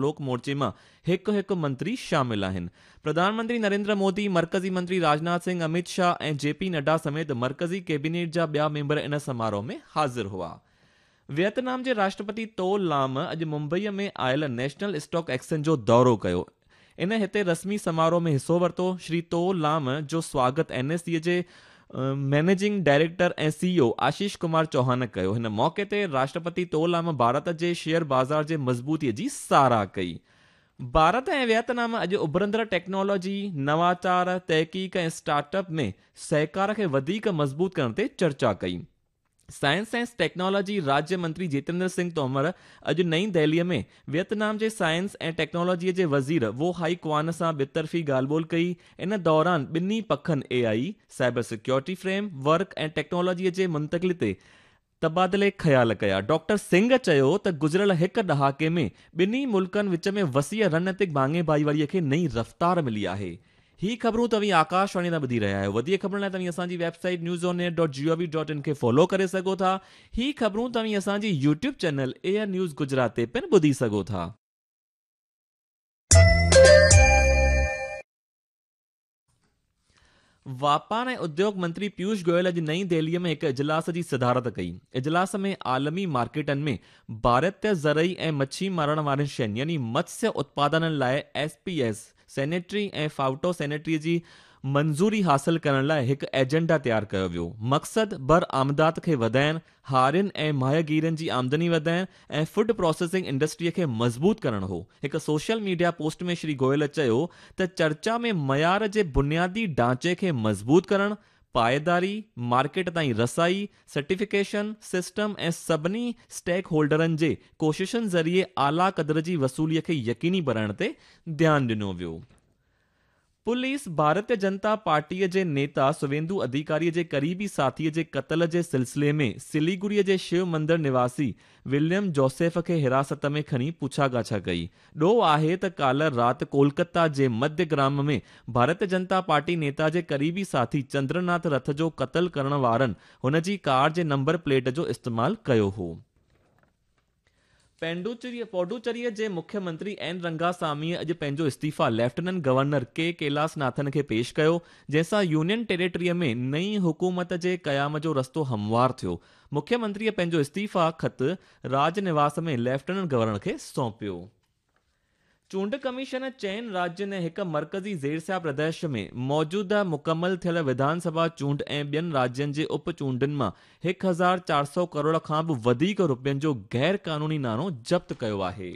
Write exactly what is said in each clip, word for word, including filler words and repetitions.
لوڪ مورچي مان هڪ هڪ منتري شامل آهن. پرڌان منتري نريندر مودي، مرڪزي منتري راجناٿ سنگهه، امت شاهه ۽ جي پي نڊا سميت مرڪزي ڪيبينيٽ جا ٻيا ميمبر ان سماروهه ۾ حاضر هئا. ويتنام جي راشٽرپتي تو لام اڄ ممبئي ۾ آيل نيشنل اسٽاڪ ايڪسچينج جو دورو ڪيو. ان هتي رسمي سماروهه ۾ حصو ورتو. شري تو لام جو سواگت اين ايس سي جي managing director ۽ C E O Ashish Kumar Chauhan ڪيو. هن موقعي تي راشٽرپتي تو لام ڀارت جي شيئر بازار جي مضبوطي جي ساراهه ڪئي. ڀارت ۽ ويتنام اڄ اڀرندڙ ٽيڪنالاجي، نواچار، تحقيق ۽ اسٽارٽ اپ ۾ سهڪار کي وڌيڪ مضبوط ڪرڻ تي چرچا ڪئي. سائنس ۽ ٽيڪنالاجي راجيه منتري جتيندر سنگهه تومر اڄ نئين دهليء ۾ ويتنام جي سائنس ۽ ٽيڪنالاجي جي وزير وو هائي ڪوان سان ٻطرفي ڳالهه ٻولهه ڪئي. ان دوران ٻنهي پکن A I, cyber security framework ۽ technology جي منتقلي تي تبادلي خيال ڪيا. ڊاڪٽر سنگهه چيو ته گذريل هڪ ڏهاڪي ۾ ٻنهي ملڪن وچ ۾ وسيع رڻنيتڪ ڀاڱي ڀائيواريء کي نئين رفتار ملي آهي. هي خبرون توهين آڪاشواڻي تان ٻڌي رهيا آهيو. وڌيڪ خبرن لاء توهين اسان جي website news on air dot G O V dot in کي فالو ڪري سگهو ٿا. هي خبرون توهين اسان جي YouTube channel air news Gujarat تي پڻ ٻڌي سگهو ٿا. واپار ۽ اديوگ منتري پيوش گويل اڄ نئين دهليء ۾ هڪ اجلاس جي صدارت ڪئي. اجلاس ۾ عالمي مارڪيٽن ۾ ڀارتيه زرعي ۽ مڇي مارڻ وارين شين يعني متسيه اتپادنن لاء S P S sanitary ۽ phyto sanitary جي منظوري حاصل ڪرڻ لاء هڪ ايجنڊا تيار ڪيو ويو. مقصد برآمدات کي وڌائڻ، هارين ۽ ماهيگيرن جي آمدني وڌائڻ ۽ فوڊ پراسيسنگ انڊسٽري کي مضبوط ڪرڻ هو. هڪ social media post ۾ Shri Goyal چيو ته چرچا ۾ معيار جي بنيادي ڍانچي کي مضبوط ڪرڻ، پائيداري، مارڪيٽ تائين رسائي، سرٽيفڪيشن سسٽم ۽ سڀني اسٽيڪ هولڊرن جي ڪوششن ذريعي اعليٰ قدر جي وصولي کي يقيني بڻائڻ تي ڌيان ڏنو ويو. پوليس ڀارتيه جنتا پارٽيء جي نيتا سويندو اڌيڪاري جي قريبي ساٿيء جي قتل جي سلسلي ۾ سليگڙيء جي شو مندر نواسي وليم جوسيف کي حراست ۾ کڻي پڇاڳاڇا ڪئي. ڏوهه آهي ته ڪالهه رات ڪولڪتا جي مڌيه گرام ۾ ڀارتيه جنتا پارٽي نيتا جي قريبي ساٿي چندرناٿ رٿ جو قتل ڪرڻ وارن هن جي ڪار جي نمبر پليٽ جو استعمال ڪيو هو. پڊوچيريء جي مکيه منتري اين رنگاساميء اڄ پنهنجو استعيفيٰ ليفٽيننٽ گورنر ڪي ڪيلاس ناٿن کي پيش ڪيو، جنهن سان يونين ٽيريٽريء ۾ نئين حڪومت جي قيام جو رستو هموار ٿيو. مکيه منتريء پنهنجو استعيفيٰ خط راج نواس ۾ ليفٽيننٽ گورنر کي سونپيو. چونڊ ڪميشن چئن راجين ۽ هڪ مرڪزي زيرسيا پرديش ۾ موجوده مڪمل ٿيل وڌان سڀا چونڊ ۽ ٻين راجين جي اپ چونڊن مان هڪ هزار چار سؤ ڪروڙ کان به وڌيڪ رپين جو غير قانوني ناڻو ضبط ڪيو آهي.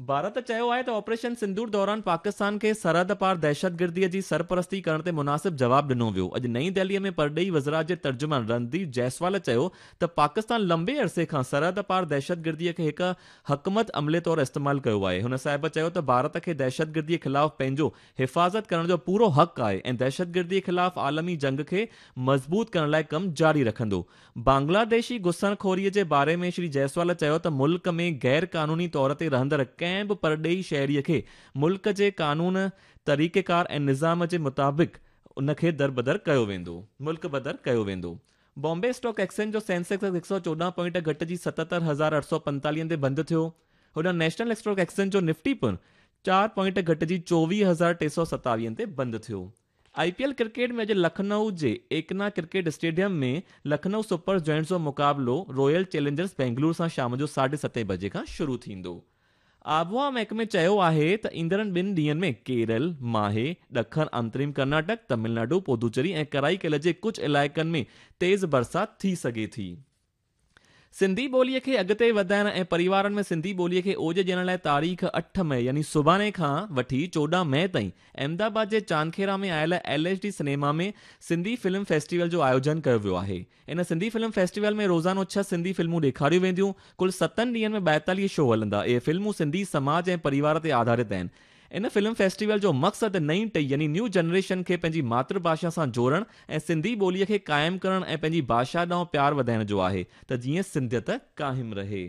ڀارت چيو آهي ته آپريشن سندور دوران پاڪستان کي سرحد پار دهشتگردي جي سرپرستي ڪرڻ تي مناسب جواب ڏنو ويو. اڄ نئين دهلي ۾ پرڏيهي وزارت جي ترجمان رڻڌير جئسوال چيو ته پاڪستان لمبي عرصي کان سرحد پار دهشتگردي کي هڪ حڪمت عملي طور استعمال ڪيو آهي. هن صاحب چيو ته ڀارت کي دهشتگردي خلاف پنهنجو حفاظت ڪرڻ جو پورو حق آهي ۽ دهشتگردي خلاف عالمي جنگ کي مضبوط ڪرڻ لاء ڪم جاري رکندو. بنگلاديشي گهسڻخوري جي باري ۾ شري جئسوال چيو ته ملڪ ۾ غير قانوني طور تي رهندڙ ڪنهن به پرڏيهي شهري کي ملڪ جي قانون، طريقيڪار ۽ نظام جي مطابق ان کي دربدر ڪيو ويندو. ملڪ بدر ڪيو ويندو. بامبي اسٽاڪ ايڪسچينج جو سينسيڪس هڪ سؤ چوڏهن پوائنٽ گهٽجي ستهتر هزار اٺ سؤ پنتاليهن تي بند ٿيو. هوڏانهن نيشنل اسٽاڪ ايڪسچينج جو نفٽي پڻ چار پوائنٽ گهٽجي چوويهه هزار ٽي سؤ ستاويهن تي بند ٿيو. آئي پي ايل ڪرڪيٽ ۾ اڄ لکنؤ جي Ekana cricket stadium ۾ Lucknow super giants جو مقابلو رائل چئلينجرز بينگلور سان شام جو ساڍي ستين بجي کان شروع ٿيندو. آبهوا محڪمي چيو آهي ته ايندڙ ٻن ڏينهن ۾ ڪيرل، ماهي، ڏکڻ انتريم ڪرناٽڪ، تامل ناڊو، پدوچيري ۽ ڪرائيڪل جي ڪجهه علائقن ۾ تيز برسات ٿي سگهي ٿي. سنڌي ٻوليء کي اڳتي وڌائڻ ۽ پريوارن ۾ سنڌي ٻوليء کي اوج ڏيڻ لاء تاريخ اٺ مئي يعني سڀاڻي کان وٺي چوڏهن مئي تائين احمدآباد جي چاندکيرا ۾ آيل L H D cinema ۾ Sindhi film festival جو آيوجن ڪيو ويو آهي. ان سنڌي فلم فيسٽيول ۾ روزانو ڇهه سنڌي فلمون ڏيکاريون وينديون. ڪل ستن ڏينهن ۾ ٻائيتاليهه شو هلندا. اهي فلمون سنڌي سماج ۽ پريوار تي آڌارت آهن. ان فلم فيسٽيول جو مقصد نئين ٽهي يعني نيو جنريشن کي پنهنجي ماتر ڀاشا سان جوڙڻ ۽ سنڌي ٻوليء کي قائم ڪرڻ ۽ پنهنجي ڀاشا ڏانهن پيار وڌائڻ جو آهي ته جيئن سنڌيت قائم رهي.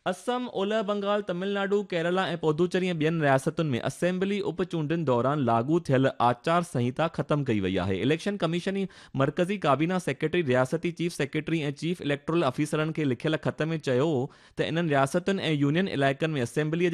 اسم، اولهه بنگال، تامل ناڊو، ڪيرالا ۽ پدوچيري ۽ ٻين رياستن ۾ اسيمبلي اپ چونڊن دوران لاڳو ٿيل آچار سنهتا ختم ڪئي وئي آهي. اليڪشن ڪميشن مرڪزي ڪابينا سيڪريٽري، رياستي چيف سيڪريٽري ۽ چيف اليڪٽورل آفيسرن کي لکيل خط ۾ چيو ته انهن رياستن ۽ يونين علائقن ۾ اسيمبليءَ جي